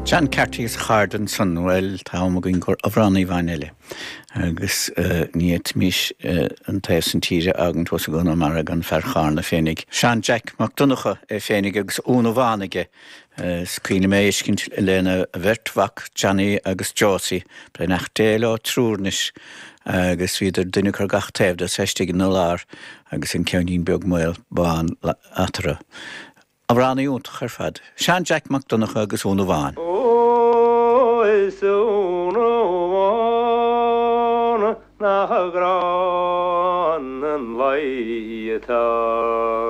John Carty agus a chairde ansan, bhuel, tá am againn do amhránaí amháin eile agus ní fhéadfaimis an taobh san tíre a fhágaint thuas i gConamara gan fear Chárna féinig, Seán Jack Mac Donncha é féinig agus Úna Bhán aige. Is cuimhin liom é a fheiscint lena bheirt mhac, Johnny agus Josie, beannacht Dé leo triúr anois, agus bhíodar duine acu ar gach taobh de is é istigh ina lár agus an ceainnín beag maol bán eatarthu. Amhránaí iontach ar fad. Seán Jack Mac Donncha agus Úna Bhán. Ó is a Úna Bhán nach gránna an luí atá.